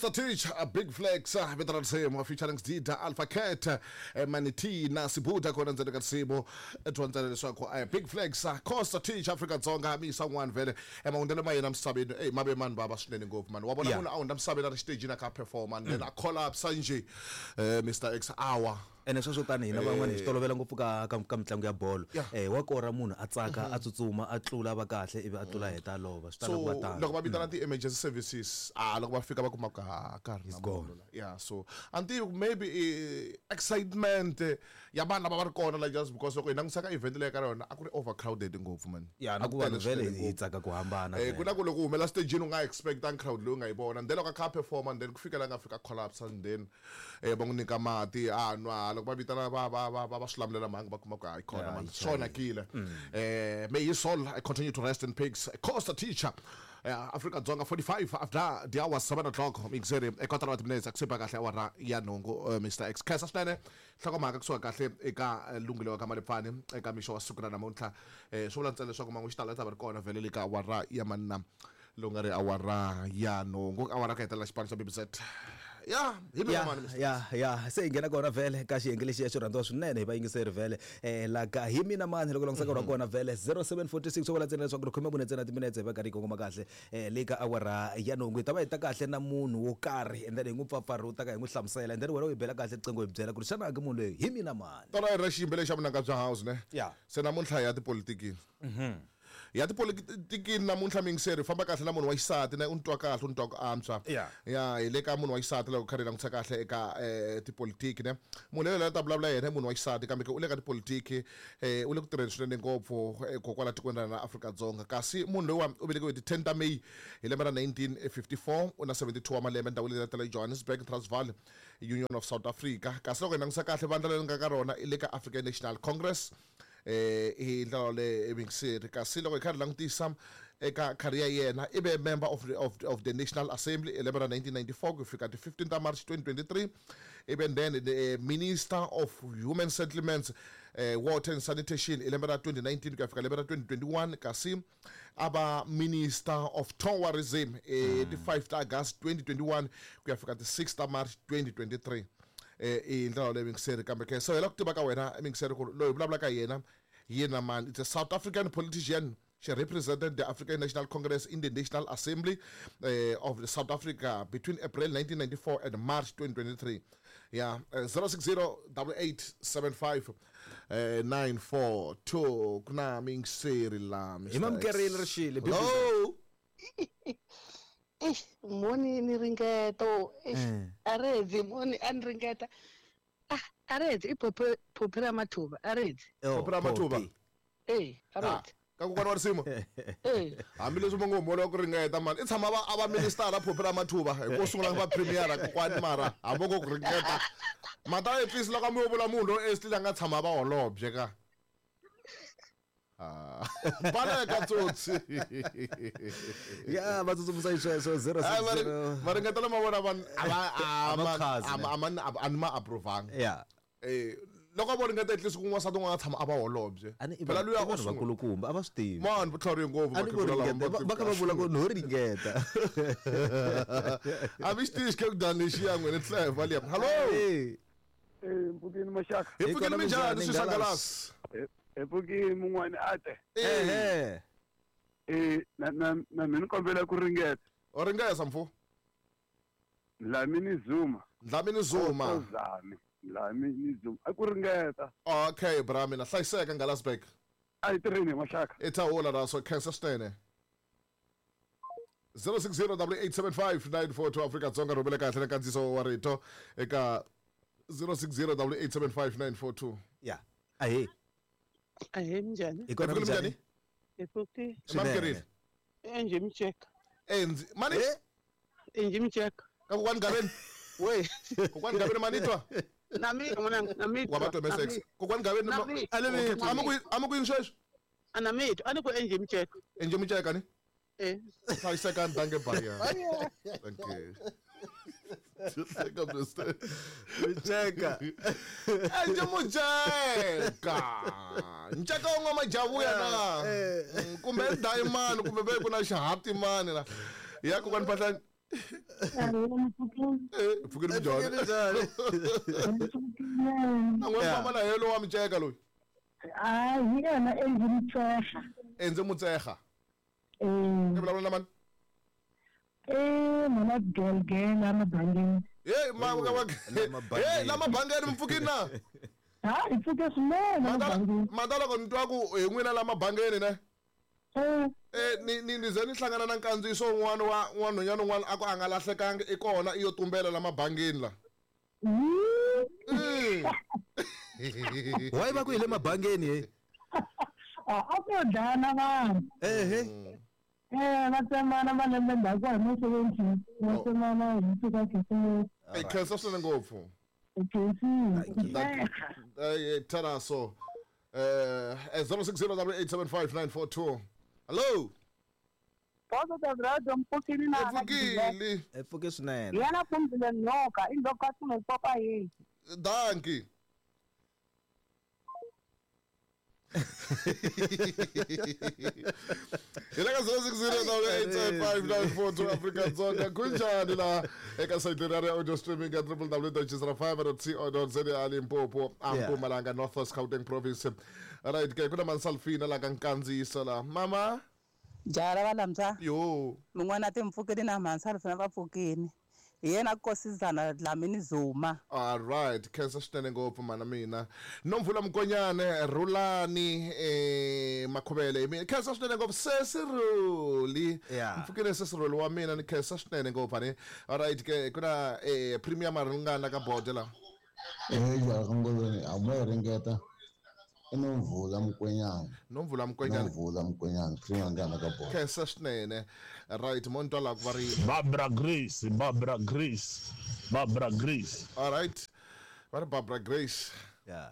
Costa Teach, a Big Flex, vito ra risimu featuring Dida, Alpha Cat, Maniti na Sibuda kona ndzeni ka risimu. Dyondzela leswaku Big Flex, Costa Teach, Afrika Dzonga mi yisa un'wana vhele mahundzelo ma yena misaveni ey ma ve mani vava swinene ngopfu mani wa vona munhu a hundza misaveni a ri xitejini a kha a performa and then a collapse njhe Mr X awa. Ene sweswo tani hina van'wana hi swi tolovela ngopfu ka ka ka mitlangu ya bolo. Wa kora munhu a tsaka a tsutsuma a tlula a va kahle ivi a tlula a heta a lova swi tala ku va So tano. loko va vitana ti-emergency services a loko va fika va kuma ku a ka ha ri na He's gone. munhu la. Yeah so a ni tivi ku maybe i excitement ya vanhu lava va ri kona like just because loko hi langutisa ka event leyi ka yona a ku ri overcrowded ngopfu man. Ya na A ku ku vanhu tele vhele swinene hi ngopfu. tsaka ku hambana Ku na vhele. ku loko u humela stagini u nga expectangi crowd leyi u nga yi vona and then loko a kha a perform and then ku fika la nga fika collapse and then va n'wi nyika mati a nwa loko va vitana va va va va va swi lamulela mhangu va kuma ku hayi khona Ya, man yi swi onhakile. May his soul continue to rest in peace. Costa Teacher Afrika Dzonga 45 after the hour 7 o'clock mixeri kotara wa timinetse ku sipa kahle awara ya nhungu Mr X khensa swinene nhlokomhaka kusuka kahle eka lunghelo wa ka Malipfani eka mixo wa siku ra namuntlha swi vula ntsena leswaku mangu xitalo ta va ri kona vhele le ka awara ya manna lowu nga ri awara ya nhungu awara ku hetelela xipano xa BBZ ya hi mina Ya mani Mr. ya ya se hi nghena kona vhele ka xiyenge lexiya xo rhandziwa swinene hi vayingiseri vhele la ka hi mina mani loko langusaka ra kona vhele 0746 swo vula ntsena leswaku ri khome mune ntsena timinetse hi va karhi yi kongoma kahle le ka awara ya nhungu hi ta va hi ta kahle na munhu wo karhi and then hi n'wi pfapfarhuta ka hi n'wi hlamusela and then wena u yi bela kahle riqingho hi byela ku ri xana ke munhu loyi hi mina mani. Tolo a hi ri na xiyimbeleri xa vunanga bya house ne Ya. se namuntlha hi ya tipolitikini ya tipolitikini namuntlha miyingiseri famba kahle na munhu wa xisati na u ni twa kahle u ni twa ku antswa Ya. ya hi le ka munhu wa xisati loko kha ri langutisa kahle eka tipolitiki ne munhu loyi la ta vulavula yena i munhu wa xisati kambe ke u le ka tipolitiki u le ku tirheni swinene ngopfu kokwala tikweni ra hina Afrika-Dzonga kasi munhu loyiwa u velekiwe hi ti 10 ta May hi lembe ra 1954 u na 72 wa malembe ndhawu leyi ta le Johannesburg Transvaal Union of South Africa kasi loko hi langutisa kahle vandla leri nga ka rona i le ka African National Congress hi ndlela yoleyo mixeri kasi loko hi kha hi langutisa eka career yena i ve member of the National Assembly hi lembe ra 1994 ku fika ti 15 ta March 2023 ivi then the Minister of Human Settlements Water and Sanitation hi lembe ra 2019 ku ya fika lembe ra 2021 kasi a va Minister of Tourism ti 5 ta August 2021 ku ya fika ti 6 ta March 2023 i ndlela yoleyo mixeri kambe ke so hi la ku tiva ka wena mixeri ku ri loyi hi vulavulaka hi yena yena mani it's a South African politician. She represented the African National Congress in the National Assembly of the South Africa between April 1994 and March 2023. Yeah, 060 8875 942 ku na mixeri la Mr. Hi mamukerile rixile X. Hello. Eish, moni ni ringeto. Eish, a redzi moni a ni ringeta. Ah, a redzi i phophi phophi ra mathuva, a redzi. Oh, Phophi ra Mathuva. Phophi. Eh, a Ah, redzi. ka kokwana wa risimu Eh, hambileswi va ngo humoliwa ku ringeta mani i tshama va a va minister phophi ra mathuva hi ku sungula va premier kokwani mara hambi ngo ku ringeta mata at least loko mi yo vula munhu loyi esli la nga tshama va holobye ka Ah, baleka tsotsi Ya va tsutsumisa xisweswo Ai, va ri- 060 va ringetela ma vona vanhu a va A va khazi, ne? a ni ma approvanga Ya. Loko vo ringeta at least ku n'wansati un'wana a tshama a va holobye A ni i phela vanhu luya i o vanhu sungula vakulukumba a va swi tivi. mani vutlhari ngopfu A ni vo vakhegula lava ringeta va kha va vula ku no ringeta. A mi xi tivi xikhekudani lexiya n'wina tleva liya hallo Eh. Mpfukini maxaka hi Hi pfukini kona minjhani minjhani, swi Ngalas? swangalasi hi pfukini mun'wani a te Ehe. na na na mina ni kombela ku ringeta u ringesa mfu Dlamini Zuma Dlamini Zuma Ozami Dlamini Zuma a ku ringeta okay bra mina hlayiseka Ngalasberg a hi tirheni hi maxaka i thawula ra so khensa swinene 060 875 942 Afrika Dzonga rhumela kahle na nkandziyiso wa rito eka 060 875 942 Ya. Ahe. ahe minjhani? Hi kona Hi pfukile minjhani? minjhani? Hi pfuki. Mamukerile Enje micheka. enzi mani Eh? Enje micheka. ka kokwani Gaveni We. kokwani Gaveni manitwa Na mina n'wananga, na mitwa. wa va twa msx kokwani Gaveni Na mi- a mi ku yini sweswi A na mitwa, a ni ku enje micheka. enje muceka ni Eh. hlayisekani danke baya thank you Teka Mr. Micheka. Enje muceka nceka wu nga majavuya na kumbe dayimani kumbe ve ku na xihatimani la ya kokwani phahlani Eh, pfukile minjhani? Na n'we famba na yena lowa miceka loyi. A hi yena Enzi Mutseha. Enzi Mutseha. Eh. I vulavula na mani? Eh, mama Gelgel amabangeni. Hey, ma hey, la mabangeni mi pfukile na? Ha, hi pfuke swinene mabangeni. Mata loko ni twa ku hi n'wina la mabangeni ne? Eh. Eh, ni ze ni hlangana na nkandziyiso wun'wana wa n'wanhwanyana un'wana a ku a nga lahlekangi i kona i yo tumbela la mabangeni la. Why va ku hi le mabangeni he? A ku yo dlaya na vanhu. Ehe. Eh, va tsemana malembe ndzhaku hi mo 70. Va tsemana hi fika khisimusi. Hey, khensa swinene ngopfu. Khensile. Eh, taraso. 0608875942. Hello. Positive Radio mpfukile na Mpfukile. Mpfuke swinene. Yena pfumzile nyoka indlovu nokopa yini. Dankie. Hi le ka 0608875942 Afrika Dzonga kunjani la eka sayiti ra audio streaming ya www.chisrafm.co.za Limpopo a Mpumalanga North West Gauteng Province. Right ke kuna Mansalfina la ka nkandziyiso la mama Jara va lamsa. Yo. Mun'wana timpfukile na Mansalfina va pfukile. Hi yena Nkosazana Dlamini Zuma. All right, khensa swinene ngopfu mana mina. Nomvula Mkonyane, Rulani Makhuvele hi mina. Khensa swinene ngopfu Sesi Ruli. Mpfukile Sesi Ruli wa mina ni khensa swinene ngopfu ani. All right ke kuna Premier Maringana ka board la. Eh ya ngolweni a mo ringeta. Nomvula Mkonyane. Nomvula Mkonyane. Nomvula Mkonyane, Premier Maringana ka board. Khensa swinene. Right, monto la ku va ri Barbara Grace, Barbara Grace, Barbara Grace. All right. Va ri Barbara Grace. Yeah.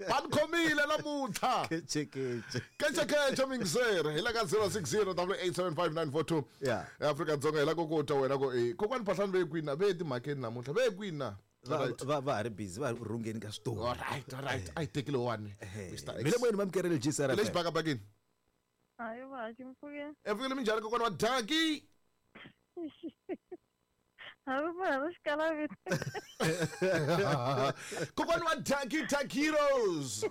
Va ni khomile namuntlha. Keche keche. Keche keche mingiseri. Hi la ka 0608875942. Yeah. Afrika Dzonga hi la ku ku twa wena ku kokwani Phahlani ve kwini ve timhakeni namuntlha ve kwini na? Va va ri busy va rhungeni ka switori. All right, all right. A yi tekile one. Mr. X. Mina moyeni mamkerele GCR. Lexi bakabakini. Hayi va mpfukile. Mpfukile minjhani kokwana wa Dankie? Hambi munhu a xikala vito. Kokwana wa Dankie Takiros.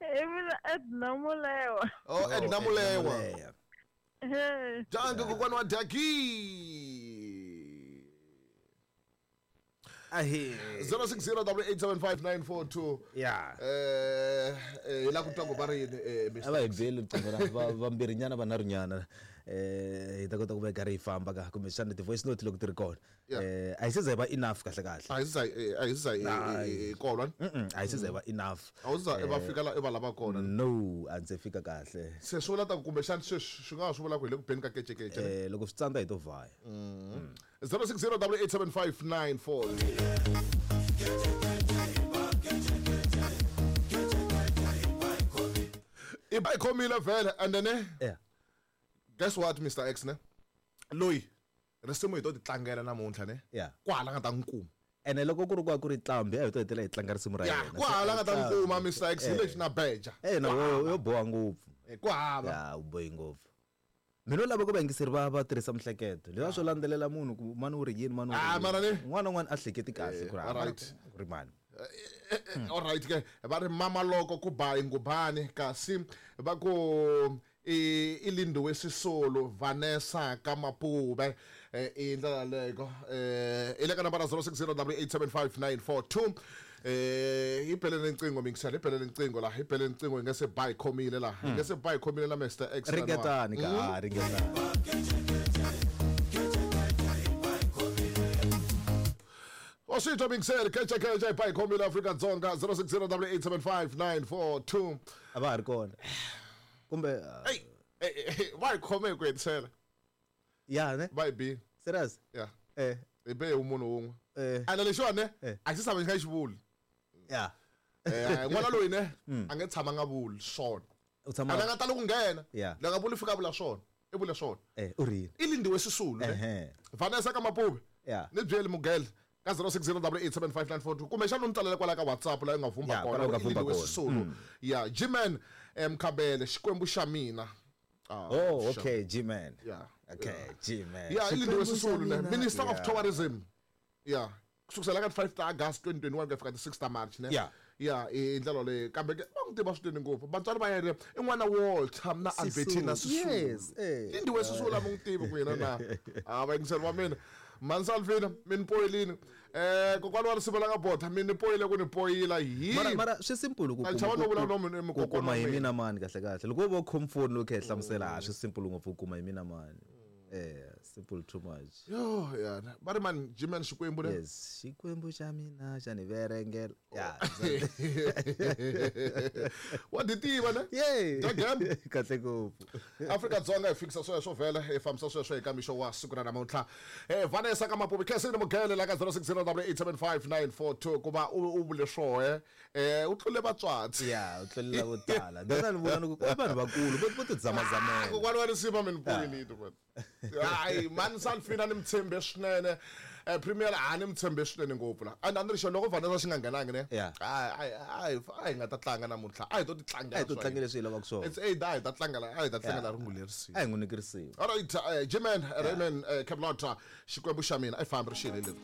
I mina Edna Mulewa. Oh, Edna Mulewa. Dankie kokwana wa Dankie. Ahe. 0608875942. Yeah. Hi la ku twa ku va ri yini Mr. A va hi byeli riqingho ra vambirhinyana vanharhunyana hi ta kota ku va hi karhi hi famba ka kumbexana ti-voice note loko ti ri kona. A hi se za hi va enough kahle kahle. A hi se za hi kolwa. A hi se za hi va enough. A wu za va fika la i va lava kona. No, a ndzi fika kahle. Se swi vula ta ku kumbexana sweswi swi nga ha swi vula ku hi le ku beni ka kecekece. Loko swi tsandza hi to vhaya. 0608875942. I ba yi khomile vhele and then yeah. Guess what Mr. X ne? Loyi risimu hi to ti tlangela namuntlha ne? Yeah. Kwala nga ta n'wi kuma. Ene loko ku ri ku ri tlambi a hi to hetelela hi tlanga risimu ra yena. Kwala nga ta n'wi kuma Mr. X hi lexi na beja. Na yo boha ngopfu. Ku hava. Ya u bohi ngopfu. Mina lava ku vayingiseri va tirhisa mihleketo. Leswi swo landzelela munhu ku mani u ri yini mani u ri. Mara ni un'wana na un'wana a hleketi kahle ku ri mani. All right ke va ri mama loko ku ba ingubani kasi va ku i Lindiwe Sisulu Vanessa Kamapube i ndlela leyo i le ka nambara 0608875942. Hi belele ncingo mingisela hi belele ncingo la hi belele ncingo hi nga se ba hi khomile la hi nga se ba hi khomile la Mr. X ringetani ka ringetani. Osito mingisela keche keche ba hi khomile Afrika Dzonga 0608875942. A va ha ri kona kumbe hey va hi khome ku hetisela. Ya ne va hi bi serious. Yeah. Eh hi be munhu wun'we. Ene lexiwani ne a xi tshama xi nga xi vuli. Yeah. N'wana loyi ne a nge tshama nga vuli swona. U tshama a nga tali ku nghena. Yeah. Loko a vuli fika vula swona. I vula swona. U ri yini? I Lindiwe Sisulu ne. Vanessa Kamapube. Yeah. Ni byeli Mugele ka 0608875942 kumbexana u ni tsalela kwala ka WhatsApp la u nga vhumba kona. I Lindiwe Sisulu. Yeah, G-Man Mkhabele Xikwembu xa mina. Ah, Oh, sure. okay, G-Man. Yeah. Okay, G-Man. Yeah, i Lindiwe Xikwembu xa Sisulu ne mina. Minister of Yeah. Tourism. Yeah. Kusukela ka 5 ta August 2021 ku ya fika ti 6 ta March ne. Yeah. Yeah, i ndlela leyi kambe ke va n'wi tiva swinene ngopfu. Vatswari va yena i n'wana Walter na Albertina Sisulu. Yes, eh. Lindiwe Sisulu a mi n'wi tivi ku yena na. Ah, vayingiseri va mina. Mansalvina mi ni poyilini. Kokwani wa risimu la nga bota mi ni poyile ku ni poyila hi. Mara mara swi simple ku A chava no vula no ku kokwana kuma wa hi mina. mina mani kahle kahle. Loko wo va u khome foni loko u kha hi hlamusela a swi simple ngopfu ku kuma hi mina mani. Simple too much. Yo, yana. Va ri man G-Man Xikwembu ne. Yes, Xikwembu xa mina xa ni verengela. Yeah. Wa ti tiva ne? Yeah. Dya game. Kahle ngopfu. Afrika-Dzonga hi fikisa sweswo vhele hi fambisa sweswo eka mixo wa siku ra namuntlha Vanessa ka Mapupi Khensini Mughele la ka 06087594 ku va u vule swohe u tlule vatswatsi Yeah, u tlulela vo tala. Ndzi ni vula ni ku i vanhu vakulu vo ti zamazamela. Kokwani wa risima mi ni poyilini man hayi mani Salfina ni mi tshembe swinene Premier a ni mi tshembe swinene ngopfu la and a ni ri xo loko Vanessa xi nga nghenangi ne Yeah. a hi nga ta tlanga namuntlha a hi to ti tlangela A hi to swa tlangela hina. leswi hi lavaka swona. It's either a hi ta tlangela a hi ta tlangela rungula lerisiwa A hi n'wi nyiki risimu. All right, G-Man, Raymond, Cablota, Xikwembu xa mina, a yi fambi ri xile leri.